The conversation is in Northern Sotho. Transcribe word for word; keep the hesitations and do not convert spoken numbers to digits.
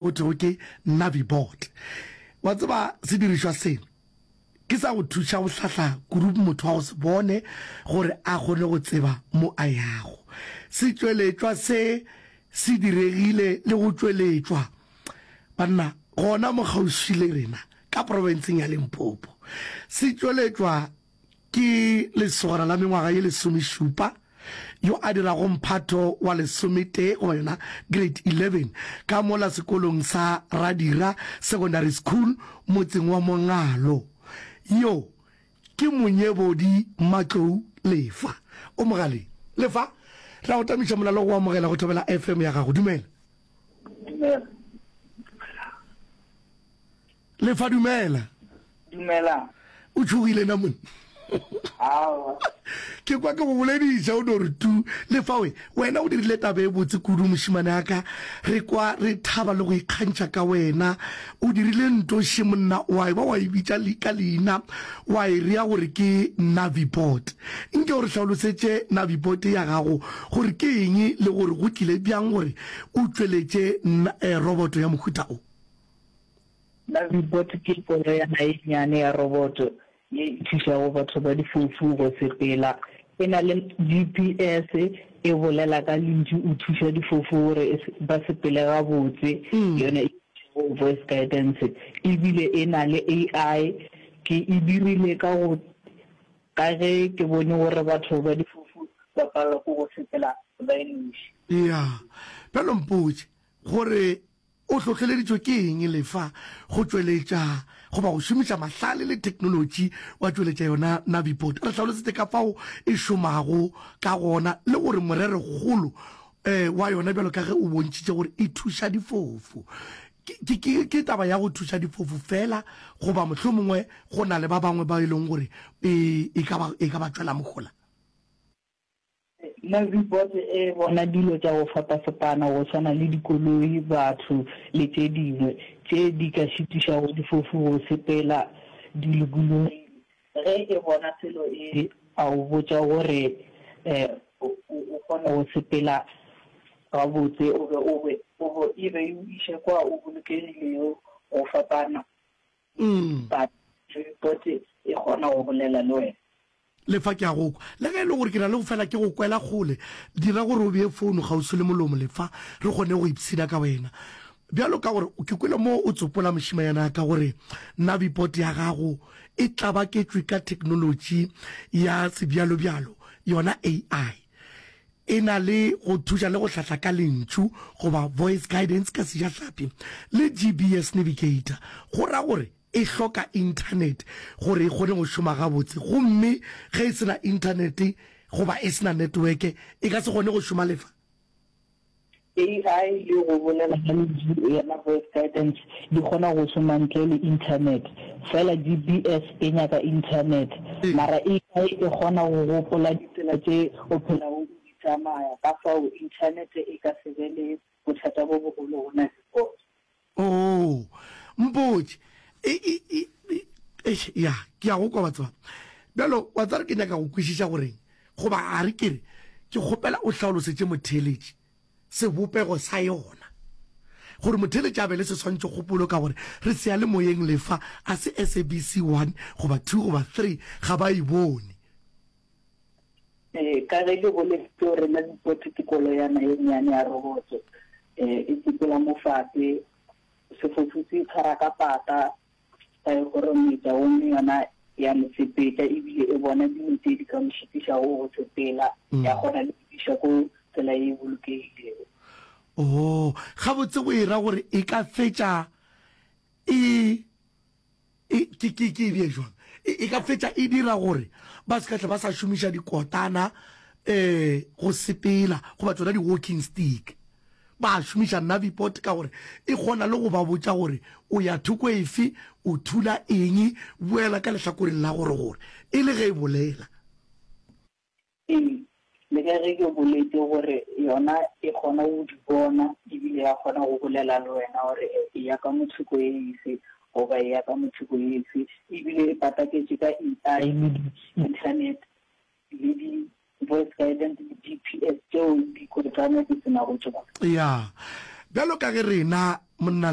Go thwego ke Navibot. Wa tseba, sedirišwa se ke sa go thuša go hlahla kudu motho wa go se bone gore a kgone go tseba mo a yago. Setšweletšwa se se diregile le go tšweletšwa, banna, gona mo kgauswi le rena ka profenseng ya Limpopo. Se tšweletšwa Ke lesogana la mengwaga ye lesomešupa yo a dirago mphato wa lesometee goba yona Grade eleven ka mola sekolong sa Radira Secondary School motseng wa Mongalo. Yo ke Monyebodi Matlou Lefa. O mogaleng. Lefa, re a go tamiša molalo go amogela go Thobela F M ya gago. Dumela. Dumela. Lefa, dumela. Dumela. O tšhogile na monna? Aowa. Ke kwa ke go bolediša o no re tu. Lefa we, wena o dirile taba e botse kudu mošemane a ka. Re kwa re thaba le go ikgantšha ka wena. O dirile ntoši monna wa e ba wa e bitša ka leina wa e rea gore ke Navibot. Nke o re hlalosetše Navibot ya gago gore ke eng le gore go tlile bjang gore o tšweletše roboto ya mohuta o. Navibot ke koloyana ye nnyane ya roboto ye e thušago batho ba difofu go sepela. E na le G P S, e bolela ka lentšu, o thuša difofu gore ba sepele gabotse, yona e bitšwago voice guidance. E bile e na le A I. Ke e dirile ka go ka ge ke bone gore batho ba difofu ba palelwa ke go sepela ba e noši. Ya. Bjalo mpotše gore O hlohleleditšwe ke eng Lefa go tšweletša goba go šomiša mahlale le theknolotši wa tšweletša yona Naviport? Re hlalosetše ka fao e šomago ka gona le gore morerokgolo wa yona bjalo ka ge o bontšhitše gore e thuša difofu. Ke, ke, ke taba ya go thuša difofu feela goba mohlomongwe go na le ba bangwe ba e leng gore e, e ka ba, e ka ba tšwela mohola? Navibot e bona dilo tša go fapafapana go swana le dikoloi, batho le tše dingwe tše di ka šitišago difofu go sepela di lokologile. Ge e bona selo e a o botša gore o kgone go sepela gabotse o be o be o be e be e o iše kwa o bolokegilego go fapana. But Navibot e kgona go bolela le wena. Lefa ke a go kwa. Le ge e le gore ke na le go fela ke go kwela kgole, dira gore o bee founo kgauswi le molomo, Lefa, re kgone go ipshina ka wena. Bjalo ka gore ke kwele mo o tsopola mošemanyana ka gore Navibot ya gago e tlabaketšwe ka theknolotši ya sebjalobjalo, yona A I. E na le go thuša le go hlahla ka lentšu goba voice guidance ka sejahlapi le G B S navigator. Go ra gore E hloka inthanete gore e kgone go šoma gabotse, gomme ge e se na inthanete goba e se na networke, e ka se kgone go šoma lefa. A I le go bolela ka lentšu yona voice guidance di kgona go šoma ntle le inthanete, fela G P S e nyaka inthanete. Mara A I e kgona go gopola ditsela tše o phelago o di tsamaya, ka fao inthanete e ka se be le bothata bo bogolo go Navibot. Oo, mpotše. E, e, e, e, eish, ya, ke a go kwa, wa tseba. Bjalo, wa tseba ke nyaka go kwešiša goreng, goba a re ke re, ke kgopela o hlaolosetše motheeletši sebopego sa yona, gore motheeletši a be le seswantšhokgopolo, ka gore re seyalemoyeng lefa, a se S A B C one goba two goba three, ga ba e bone. Ee, ka ge ke boletše gore Navibot ke koloyana ye nnyane ya roboto, e sepela mo fase, sefofu se itshwara ka pata sa e kgorometša gomme yona ya mo sepetša ebile e bona dilo tše di ka mo šitišago go sepela, ya kgona le go iša ko tsela ye e bolokegilego. Oo, gabotse go e ra gore e ka fetša e E, ke, ke, ke e bee jwang? E, e ka fetša e dira gore ba se ka tle ba sa šomiša dikotana um go sepela goba tšona di-walking stick. Ba šomiša Navipot ka gore e kgona le go ba botša gore o ya thoko efe, o thula eng, boela ka lehlakoreng la gore gore, e le ge e bolela. Ee, le ka ge ke boletše gore yona e kgona go di bona ebile ya kgona go bolela le wena gore e ya ka mothoko e efe goba e ya ka mothoko e efe, ebile e pataketše ka A I le di-internet le di-voice guidance le G P S tšeo dikotana di se nago tšona. Ya, bjalo ka ge rena Monna